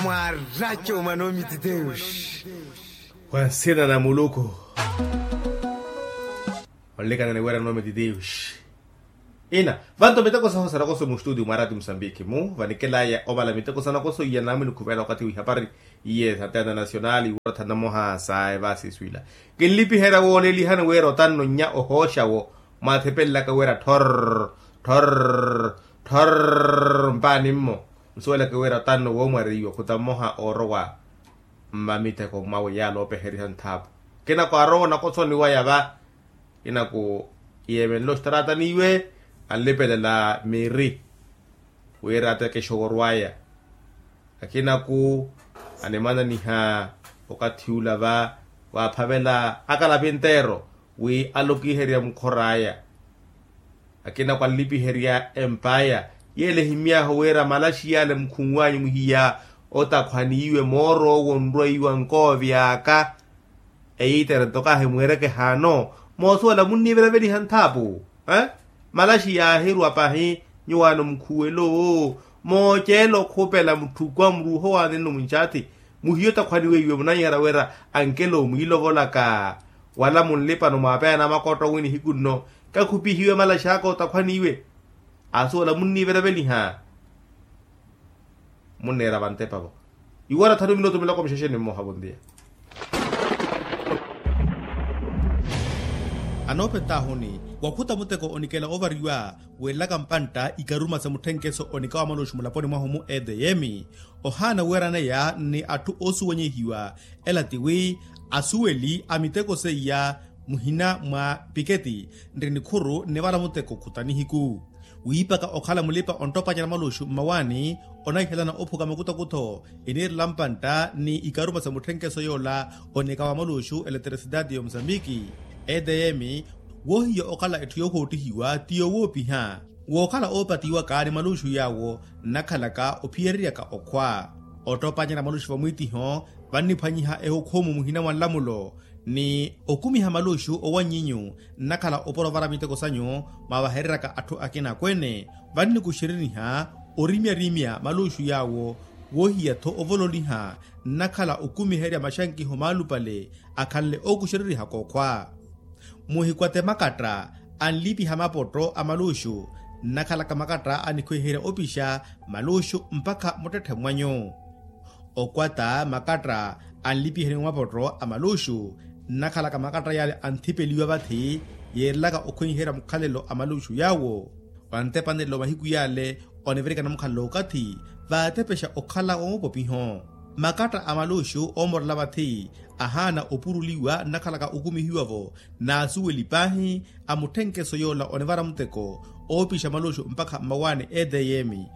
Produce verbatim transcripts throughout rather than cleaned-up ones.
Mwaracuma nomititeus. Wa nsina na muluku. Onlikana ni wira nomititeus. Ina vanto miteko saho sanakoso mu studio mwa rati musambiki mu vanikelaya ovala miteko sanakoso iya namwini khuvela wakati wihapari. Iye satena nasionali wira thanamoha sa evasi swila. Kinlipiherya woolelihani wira otanno nnya ohooxa wo. Mwathipelelaka wira thorr thorr thorr mpaani mmo. Nsuwelaka wira otanno woomwariwa khuta mmoha oorowa mmamiteko mwawe yaala oopeheriha nthaapu. Kinaku arowa onakosoniwaya va. Kinaku yeemenle oxitaratani iwe anlipelela miiri wira atekeshe oworwaya. Akinaku animananiha okathi ula va waaphavela akalapi nteero wi alokiherya mukhor'aya. Akina kwalipiherya empaya yele ehimyahu wira malaxi yale mukhunwanyu muhiya otakhwaniyiwe mooro owo nrweiwa nkoovi aka. Eyitere nto kaahimweereke haano moosuwela munnivelaveliha nthaapu. Malaxi yaahirwa pahi nyuwaano mukhuwelo. Mooceela okhupela mutthuku a muruuho waani nno muncathi muhiya otakhwaniweiwe munanyara wira ankelo mwiilovolaka wala munlipano mwaapeyana makootto wi nihiku nno kakhupihiwe malaxi aka otakhwaniwe. Asuwela munnivelaveliha munneera vantepa vo. Iwara thanu minutu miloko mixexe ni mmoha vontiya. Anoopetahuni wakhuta muteko onikela ovariwa weelaka mpantta ikaruma sa mutthenkeso onika wa maluxu mulaponi mwahu mu edeyemi. Ohaana weeraneya ni atthu oosuwenyehiwa ela tiwi asuweli a miteko seiya muhina mwa piketi nri nikhuru nnivala muteko khuta nihiku. Wiipaka okhala mulipa onttopanyana maluxu mmawaani onaihelana ophuka makutakutho eniirela mpantta ni ikaruma sa mutthenkeso yoola onika wa maluxu eleterisitaati ya omusambiki. Edeyemi woohiya okhala etthu yoohoottihiwa ti yowoopiha wookhala oopatiwaka ni maluxu yaawo nnakhalaka ophiyereryaka okhwa. Ottoopanyana maluxu vamwiitiho vanniphwanyiha ehukhumu muhina mwa nlamulo ni okumiha maluxu owanyinyu nnakhala opora ovara miteko sanyu mwaavahereryaka atthu akina akweene. Vannikuxereniha orimyarimya maluxu yaawo woohiya-tho ovololiha nnakhala okumiherya maxankiho maalupale akhanle ookuxererihaka okhwa. Muhikwate makatta anlipiha mapotto a maluxu nnakhalaka makatta anikhweherya opixa maluxu mpakha muttetthe mwanyu. Okwata makatta anlipiheni mapotto a maluxu nnakhalaka makatta yale anthipeliwa vathi yeerelaka okhwenherya mukhalelo a maluxu yaawo. Vantepanelo mahiku yale onivirikana mukhalelo okathi vaatepexa okhala wa mupopiho. Makatta a maluxu oomorela vathi ahaana opuruliwa nnakhalaka okumihiwa-vo n'asuweli paahi a mutthenkeso yoola onivara muteko oopixa maluxu mpakha mmawaani edeyemi.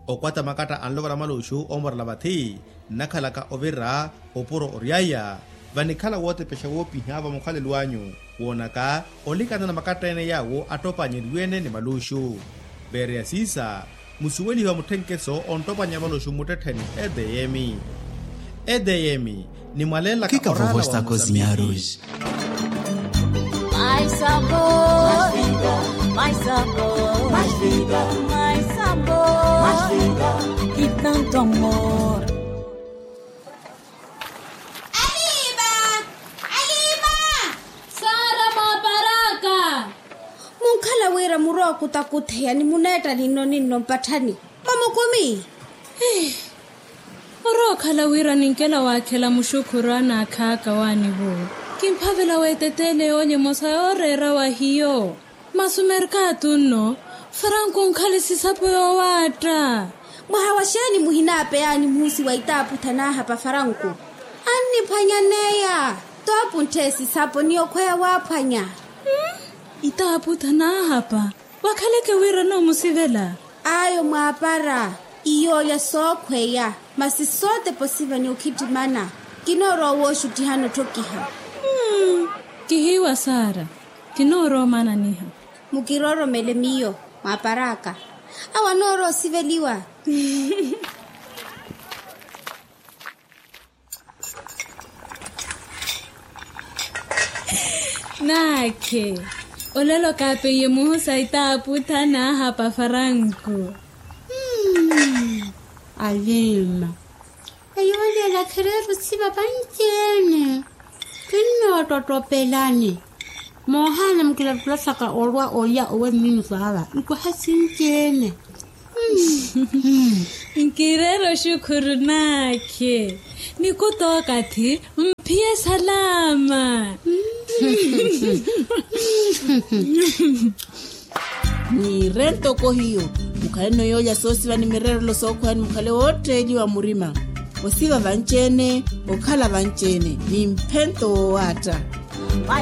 Okwata makatta anlovara maluxu oomorela vathi nnakhalaka ovira opuro oryaya vanikhala wootepexa woopiha vamukhalelo anyu woonaka olikana na makatta ene yaawo attoopanyeriwe-ene ni maluxu. Veereya siisa musuwelihiwa mutthenkeso onttoopanya maluxu mmuttettheni edeyemi. Edeyemi nimwaleelaka oraana wa musambiki. Aliipa. Aliipa. Saara mwaparaka. Munkhala wira murwa okutakutheya ni muneetta ninno ninno mpatthani mamukumi. Orookhala wira ninkela waakhela muxukhuru anaakhaaka waanivo kimphavela weeteteele yoolya emosa yooreera wa hiyo. Masi omerkatu nno faranku onkhale sisapo yoowaatta. Mwaha wa xeeni muhinaapeyaani muhusi wa itaaputha naahapa faranku? Anniphwanyaneya toopunttheye sisapo ni okhweya waaphwanya. Itaaputha naahapa wakhaleke wira noomusivela. Ayo mwaapara iyoolya sookhweya masi sootepa osiva ni okhittimana. Kinoorowa wooxuttihana otthokiha. Kihiiwa saara. Kinoorowa omananiha. Mukirooromele miyo mwaapar'aka. Awo anoorowa osiveliwa. Naakhe olelo kaapeiye muhusa itaaputha naahapa faranku. Aliima. Eyoolela khereera osiva vanci-ene. Kinnoottottopelani. Moohaana mukilattulattaka olwa olya owe mmiini saava nkuha sinci-ene. Nkireera oxukhuru naakhe. Nikuta okathi mphiye salaama. Niire ntoko hiyo. Mukhaleno yoolya soosiva ni mireerelo sookhwani mukhale wootteeliwa murima. Osiva vanci-ene, okhala vanci-ene ni mphento woowaatta.